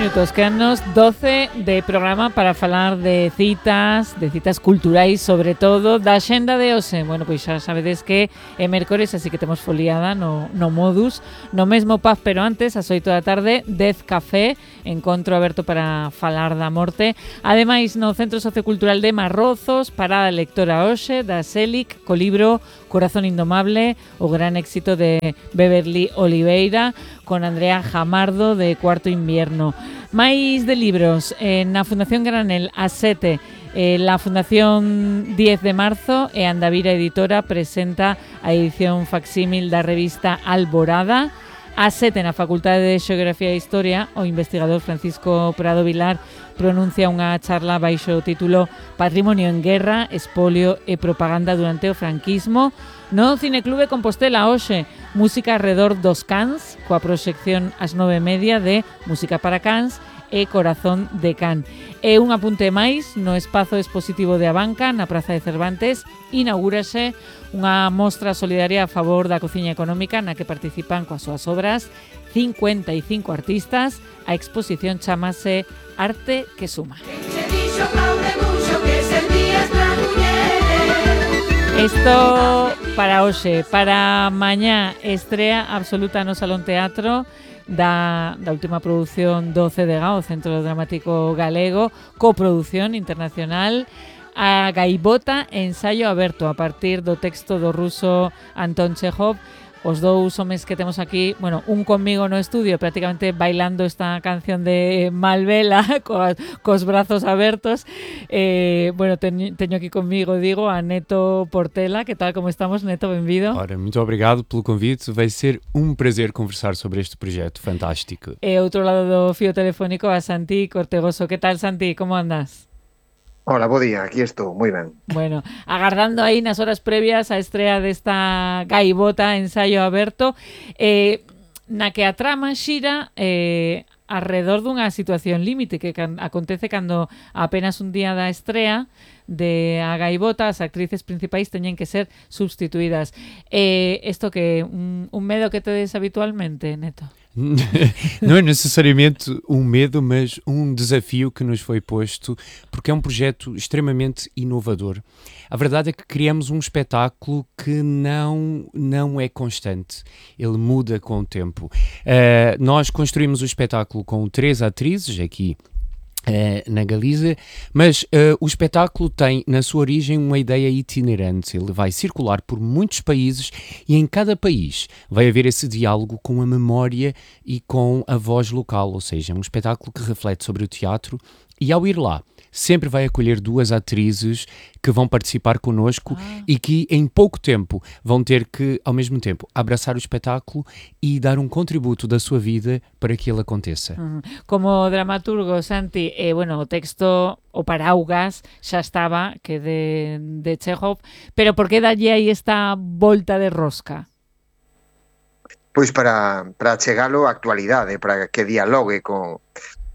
minutos, quedannos 12 de programa para falar de citas culturais, sobre todo da xenda de hoxe. Bueno, pois xa sabedes que é mércores, así que temos foliada no Modus, no mesmo pub, pero antes, ás 8 da tarde, 10 Café, encontro aberto para falar da morte. Ademais, no Centro Sociocultural de Marrozos, parada lectora hoxe da Selic, co libro Corazón Indomable, o gran éxito de Beverly Oliveira, con Andrea Jamardo de Cuarto Invierno. Máis de libros na Fundación Granel a 7, la Fundación 10 de marzo e Andavira Editora presenta a edición facsímil da revista Alborada. A 7 na Facultade de Xeografía e Historia, o investigador Francisco Prado Vilar pronuncia unha charla baixo o título Patrimonio en Guerra, Espolio e Propaganda durante o franquismo. No Cineclube Compostela hoxe, música arredor dos cans, coa proxección ás 9:30 de Música para Cans e Corazón de Can. E un apunte máis, no espazo expositivo de Abanca, na Praza de Cervantes, inaugúrase unha mostra solidaria a favor da cociña económica na que participan coas súas obras 55 artistas. A exposición chamase Arte que Suma. Isto para hoxe. Para mañá estrea absoluta no Salón Teatro da última produción do CDG, o Centro Dramático Galego, coproducción internacional, A Gaivota, ensaio aberto a partir do texto do ruso Anton Chekhov. Os dous homes que temos aquí, bueno, un conmigo no estudio prácticamente bailando esta canción de Malvela cos brazos abertos. Bueno, teño aquí conmigo, digo, a Neto Portela. Que tal, como estamos, Neto? Benvido. Ora, muito obrigado pelo convite. Vai ser prazer conversar sobre este projeto fantástico. E outro lado do fío telefónico a Santi Cortegoso. Que tal, Santi? Como andas? Hola, bo día, aquí estou, moi ben. Bueno, agardando aí nas horas previas a estrea desta Gaivota, ensaio aberto, na que a trama xira arredor dunha situación límite que acontece cando apenas un día da estrea de A Gaivota as actrices principais teñen que ser substituídas. Isto que un medo que tedes habitualmente, Neto? Não é necessariamente um medo, mas um desafio que nos foi posto, porque é um projeto extremamente inovador. A verdade é que criamos um espetáculo que não é constante, ele muda com o tempo. Nós construímos o espetáculo com 3 atrizes aqui na Galiza, mas o espetáculo tem na sua origem uma ideia itinerante. Ele vai circular por muitos países e em cada país vai haver esse diálogo com a memória e com a voz local, ou seja, um espetáculo que reflete sobre o teatro, e ao ir lá sempre vai acolher 2 atrizes que vão participar connosco e que em pouco tempo vão ter que, ao mesmo tempo, abraçar o espetáculo e dar um contributo da sua vida para que ele aconteça. Como dramaturgo, Santi, bueno, o texto, o Paraugas, xa estaba, que de Chekhov, pero por que dalle aí esta volta de rosca? Pois para chegalo á actualidade, para que dialogue coa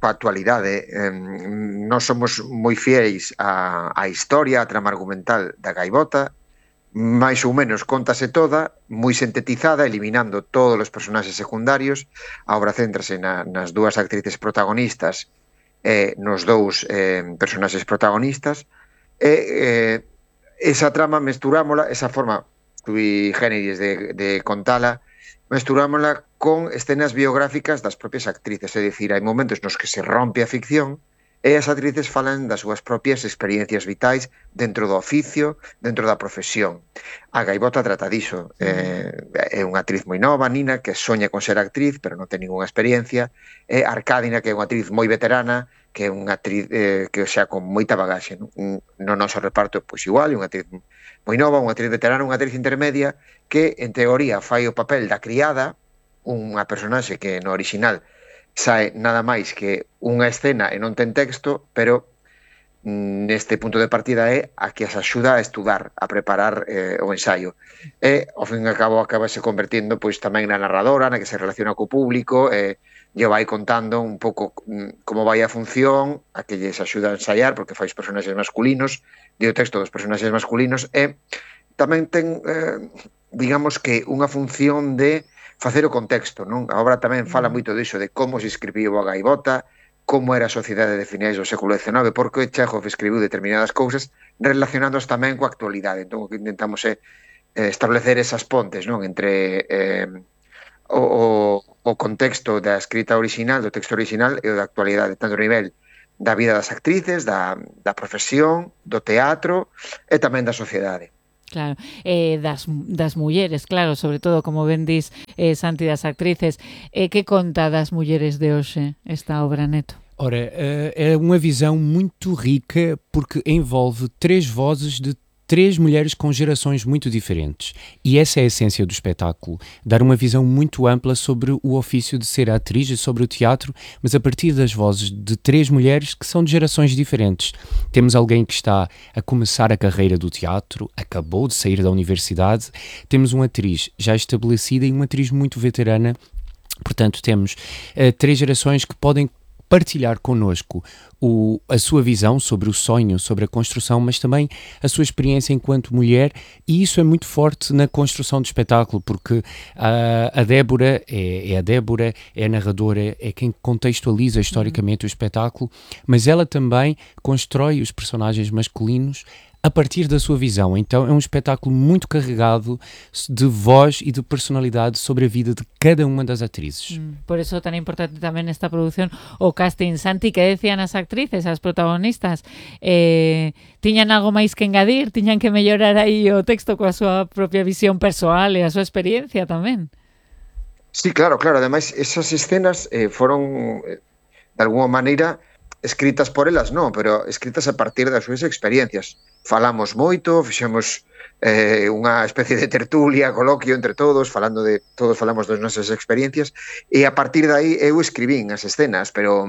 actualidade. Nós somos moi fieis á historia, a trama argumental da Gaivota, máis ou menos contase toda, moi sintetizada, eliminando todos os personaxes secundarios. A obra céntrase nas 2 actrices protagonistas e nos 2 personaxes protagonistas, e esa trama mesturámola, esa forma sui generis de contala, mesturámola con escenas biográficas das propias actrices, é dicir, hai momentos nos que se rompe a ficción e as actrices falan das súas propias experiencias vitais dentro do oficio, dentro da profesión. A Gaivota trata diso, é unha actriz moi nova, Nina, que soña con ser actriz, pero non ten ninguna experiencia, e Arcádina, que é unha actriz moi veterana, que é unha actriz que xa con moita bagaxe. No noso reparto, pois igual, unha actriz moi nova, unha actriz veterana, unha actriz intermedia, que en teoría fai o papel da criada, unha personaxe que no original sae nada máis que unha escena e non ten texto, pero neste punto de partida é a que as axuda a estudar, a preparar o ensaio. E, ao fin e ao cabo, acabase convertindo pois tamén na narradora, na que se relaciona co público, e lle vai contando un pouco como vai a función, a que lles axuda a ensaiar, porque fai os personaxes masculinos, di o texto dos personaxes masculinos, e tamén ten, digamos que, unha función de facer o contexto, non? A obra tamén fala moito diso, de como se escribiu A Gaivota, como era a sociedade de finais do século XIX, porque Chekhov escribiu determinadas cousas relacionándoas tamén coa actualidade. Entón, o que intentamos é establecer esas pontes, non, entre o contexto da escrita original, do texto original e o da actualidade, tanto a nivel da vida das actrices, da profesión, do teatro e tamén da sociedade. Claro, das mulleres, claro, sobre todo, como ben dis, Santi, das actrices. Que conta das mulleres de hoxe esta obra, Neto? Ora, é uma visão muito rica porque envolve 3 vozes de 3 mulheres com gerações muito diferentes. E essa é a essência do espetáculo, dar uma visão muito ampla sobre o ofício de ser atriz e sobre o teatro, mas a partir das vozes de 3 mulheres que são de gerações diferentes. Temos alguém que está a começar a carreira do teatro, acabou de sair da universidade, temos uma atriz já estabelecida e uma atriz muito veterana. Portanto, temos 3 gerações que podem partilhar connosco a sua visão sobre o sonho, sobre a construção, mas também a sua experiência enquanto mulher, e isso é muito forte na construção do espetáculo, porque a Débora é a Débora, é a narradora, é quem contextualiza historicamente o espetáculo, mas ela também constrói os personagens masculinos a partir da sua visão. Então é um espetáculo muito carregado de voz e de personalidade sobre a vida de cada uma das atrizes. Por eso tan importante tamén nesta produción o casting. Santi, que decían as actrices, as protagonistas? Tiñan algo máis que engadir? Tiñan que mellorar aí o texto coa súa propia visión persoal e a súa experiencia tamén? Sí, claro. Ademais, esas escenas foron, de alguma maneira, escritas por elas, non, pero escritas a partir das súas experiencias. Falamos moito, fixemos unha especie de tertulia, coloquio entre todos, todos falamos das nosas experiencias, e a partir de aí eu escribín as escenas, pero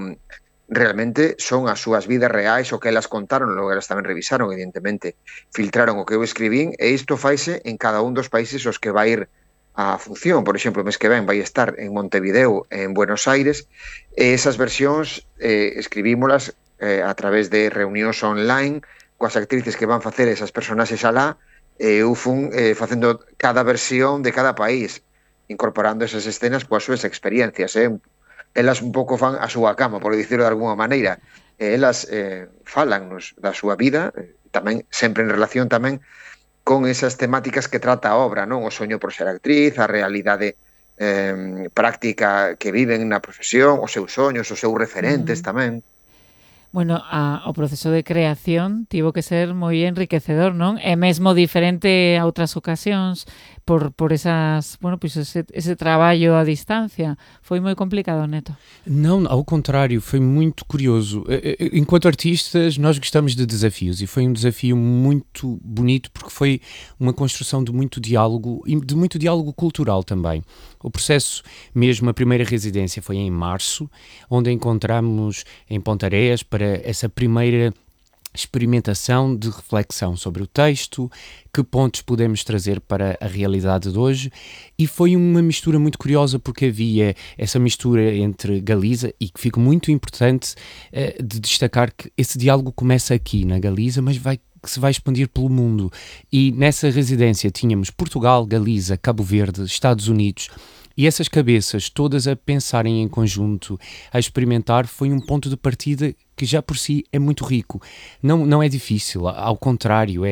realmente son as súas vidas reais o que elas contaron, logo elas tamén revisaron, evidentemente, filtraron o que eu escribín, e isto faise en cada un dos países os que vai ir a función. Por exemplo, o mes que ven vai estar en Montevideo, en Buenos Aires, e esas versións escribímolas a través de reunións online coas actrices que van facer esas personaxes alá, e eu fun facendo cada versión de cada país, incorporando esas escenas coas súas experiencias. Elas un pouco fan a súa cama, por dicirlo de alguma maneira. Elas falannos da súa vida, tamén sempre en relación tamén con esas temáticas que trata a obra, non? O soño por ser actriz, a realidade práctica que viven na profesión, os seus soños, os seus referentes tamén. Bueno, o proceso de creación tivo que ser moi enriquecedor, non? É mesmo diferente a outras ocasións por esas, bueno, pois ese traballo a distancia. Foi moi complicado, Neto? Não, ao contrário, foi muito curioso. Enquanto artistas, nós gostamos de desafios e foi um desafio muito bonito porque foi uma construção de muito diálogo e de muito diálogo cultural também. O processo, mesmo a primeira residência foi em março, onde encontramos em Pontareas para essa primeira experimentação de reflexão sobre o texto, que pontos podemos trazer para a realidade de hoje, e foi uma mistura muito curiosa porque havia essa mistura entre Galiza, e que fica muito importante de destacar que esse diálogo começa aqui na Galiza, mas que se vai expandir pelo mundo, e nessa residência tínhamos Portugal, Galiza, Cabo Verde, Estados Unidos, e essas cabeças todas a pensarem em conjunto, a experimentar, foi um ponto de partida que já por si é muito rico. Não é difícil, ao contrário,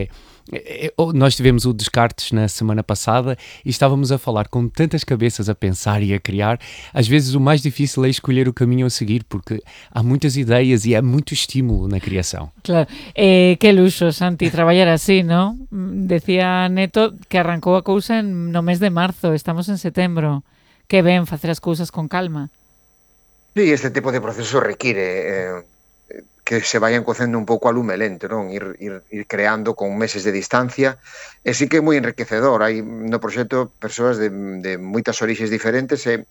nós tivemos o Descartes na semana passada e estávamos a falar com tantas cabeças a pensar e a criar. Às vezes o mais difícil é escolher o caminho a seguir, porque há muitas ideias e há muito estímulo na criação. Claro, que luxo, Santi, traballar así, non? Decía Neto que arrancou a cousa no mes de marzo, estamos en setembro. Que ben facer as cousas con calma. Sí, este tipo de proceso require que se vayan cocendo un pouco a lume lento, non? Ir creando con meses de distancia, e sí que é moi enriquecedor. Hai no proxecto persoas de moitas orixes diferentes, e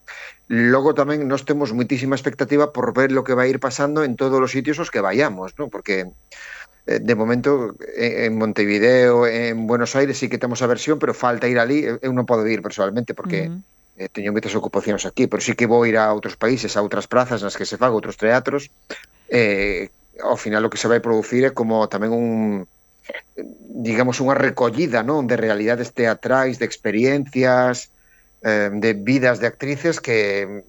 logo tamén nós temos moitísima expectativa por ver lo que vai ir pasando en todos os sitios os que vayamos, non? Porque de momento en Montevideo, en Buenos Aires sí que temos a versión, pero falta ir ali. Eu non podo ir personalmente porque teño moitas ocupacións aquí, pero sí que vou ir a outros países, a outras prazas nas que se faga, outros teatros. Ao final o que se vai producir é como tamén digamos, unha recollida, non, de realidades teatrais, de experiencias, de vidas de actrices que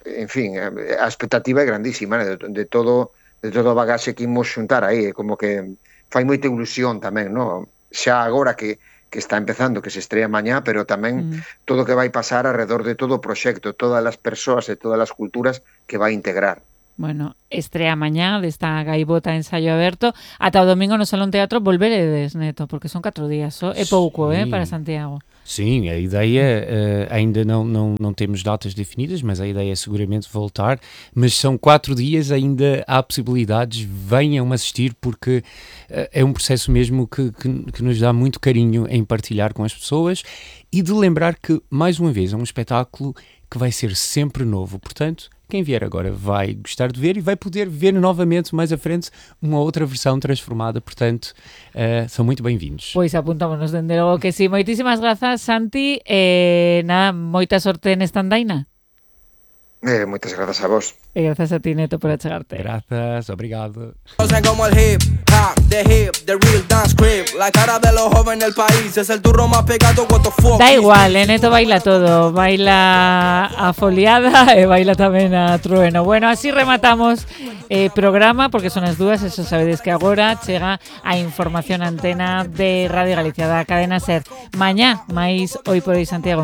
en fin, a expectativa é grandísima, né? de todo o bagaxe que imos xuntar aí, como que fai moita ilusión tamén, no? Xa agora que está empezando, que se estrea mañá, pero tamén todo o que vai pasar alrededor de todo o proxecto, todas as persoas e todas as culturas que vai integrar. Bueno, estrea mañá desta gaivota ensaio aberto. Ata o domingo no Salón Teatro volveredes, Neto, porque son 4 días só. É pouco, para Santiago. Sim, a ideia, ainda não temos datas definidas, mas a ideia é seguramente voltar. Mas são 4 dias, ainda há possibilidades, venham assistir, porque é um processo mesmo que nos dá muito carinho em partilhar com as pessoas e de lembrar que, mais uma vez, é um espetáculo que vai ser sempre novo. Portanto, quem vier agora vai gostar de ver e vai poder ver novamente mais à frente uma outra versão transformada, portanto, são muito bem-vindos. Pois apuntámonos dende logo que sí. Moitísimas grazas, Santi, nada, moita sorte nesta andaina. Moitas grazas a vos. E grazas a ti, Neto, por achegarte. Grazas, obrigado. Como el hip hop, the real dance crib. La cara de los jóvenes del país es el turro más pegado. What the fuck. Da igual, Neto baila todo. Baila a foliada e baila tamén a trueno. Bueno, así rematamos programa, porque son as dúas, eso sabedes que agora chega a información antena de Radio Galicia, da cadena SER. Mañá, máis Hoy por Hoy Santiago.